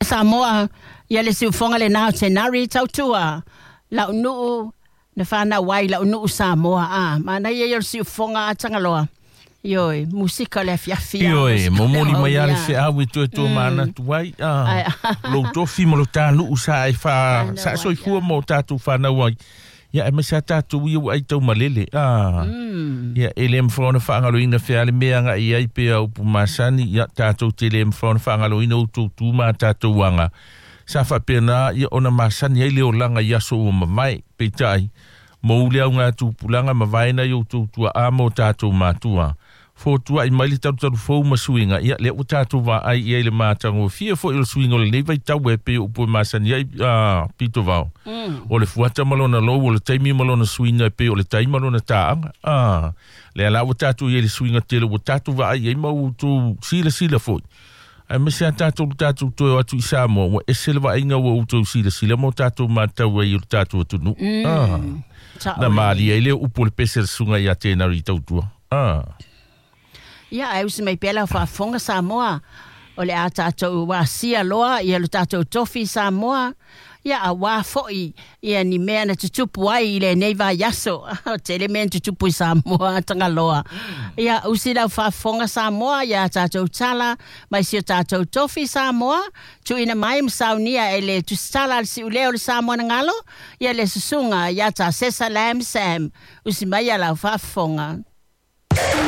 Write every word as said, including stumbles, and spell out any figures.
Samoa, ia le siufoga lenā o Tenari Tautua, la'unu'u na fanau ai la'unu'u Samoa a manaia ia o le siufoga a Tagaloa. Ioe, musika o le afiafi. Ioe, momoli mai a le feau e toe toe manatu ai a lou tofi ma lo tānu'u sa e fa sa soifua ma o tatou fanau ai. Ia e maise a tatou ia ua ai taumalele a. Ia e le mafai ona faagaloina fea le mea agai ai pea upu masani, ia tatou te le mafai ona faagaloina outou tu ma tatou aga. Sa faapena ia ona masani ai le olaga i aso ua mavae, peitai mou le auga tupulaga ma vaena i outou tua'a ma o tatou matua. Fotua'i mai le talutalu fou ma suiga, ia lea ua tatou vaai i ai le matagofie foi o le suiga o lenei vaitau e pei o upu e masani ai a pito vao. O le fuata ma lona lou, o le taimi ma lona suiga e pei o le tai ma lona tāaga. A, lea la ua tatou i ai le suiga tele ua tatou vaai ai ma outou silasila foi. Aemaise a tatou le tatou toe o atu i Samoa, ua ese le vaaiga ua outou silasila ma o tatou matau ai i o le tatou atunuu. A, na malie ai lea upu o le pese a le susuga ia Tenari Tautua. A. Ia, ae usi mai pea lau faafofoga Samoa, o le a tatou asia loa ia lo tatou tofi Samoa, ia auā fo'i ia ni mea na tutupu ai i lenei vaiaso. O tele mea na tutupu i Samoa Tagaloa. Ia, usi lau faafofoga Samoa ia tatou tala mai si o tatou tofi Samoa, tuuina mai ma saunia e le tusitala a le siulea o le Samoa na galo, ia le susuga ia Tasesa Lam Sam. Usi mai ia lau faafofoga.